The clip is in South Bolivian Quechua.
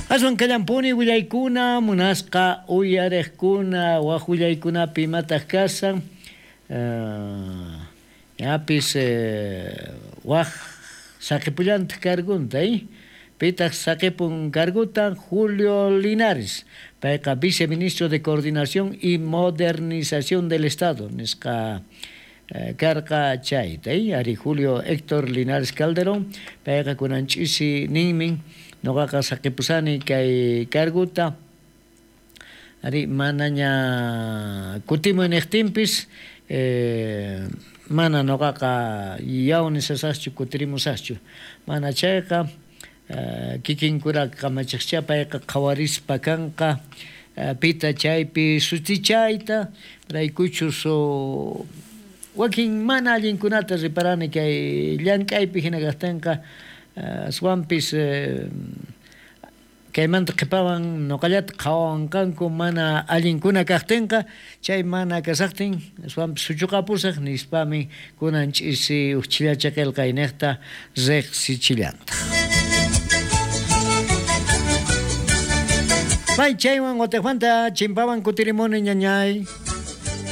Aswan kallampuni willaykuna, munasqa uyarejkuna, waj willaykunapi imataq kashan. Ñapis waj saqepullantaq cargunta, Pitaq saqepun carguta? Julio Linares. Payqa viceministro de Coordinación y Modernización del Estado nisqa karqa chayta, ari Julio Héctor Linares Calderón. Payqa kunan ch'isi ninmin, noqaqa saqepusani kay carguta. Ari manaña kutimuy niqtinpis, mana noqaqa yaw nisasaqchu, kutirimusaqchu. Mana chayqa kikinkura kamachiqcha payqa qhawarispa kanqa pita chaypi sutichayta, raykuchus wakin mana allinkunata reparani kay llank'aypi hina kaqtinqa, aswanpis kaymanta qhipawan noqallata qhawawanqanku mana allinkuna kaqtinqa, chay mana kasaqtin aswanpis suchuqapusaq nispami kunan ch'isi uj chhillacha qillqayniqta riqsichillantaq. May chaywan watiqmanta chimpawan kutirimuni, ñañay.